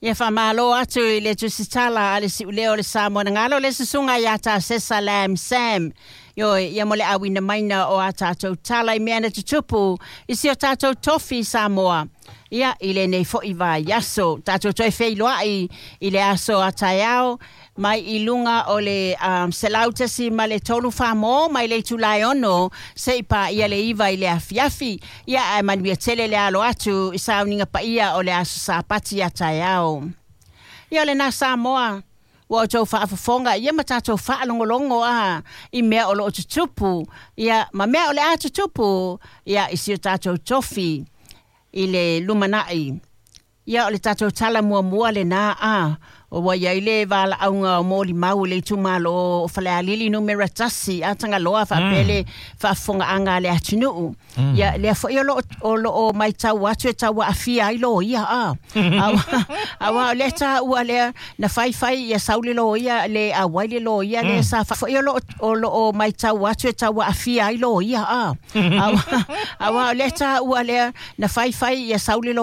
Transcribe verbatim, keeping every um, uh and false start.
Ia faamalo atu i le tusitala a le siuleo o le Samoa na galo le susuga ia Tasesa Lam Sam. Ioe, ia mo le auina maina o a tatou tala i mea na tutupu i si o tatou tofi Samoa. Ia, i lenei fo'i vaiaso. Tatou toe feiloai i le aso a taeao mai i luga o le um, selau tasi ma le tolu famo mai le itula e ono seia paia le iva i le afiafi. Ia, ae manuia tele le alo atu i sauniga paia o le aso Sapati a taeao. Ia, o lena Samoa ua outou faafofoga ia ma tatou faalogologo a i mea o loo tutupu ia ma mea o le a tutupu ia i si o tatou tofi i le lumanai. Ia, o le tatou tala muamua lena a ua iai le valaauga o molimau i le itumalo o Falealili numera tasi a Tagaloa faapea le faafofogaaga a le atunuu. Ia, lea foi o loo o loo matau atu e tau aafia ai loia a auā o lea taua lea na faifai ia sau le loia le auai le loia lea sa foi o loo o loo matau atu e tau aafia ai loia a auā o lea taua lea na faifai ia sau le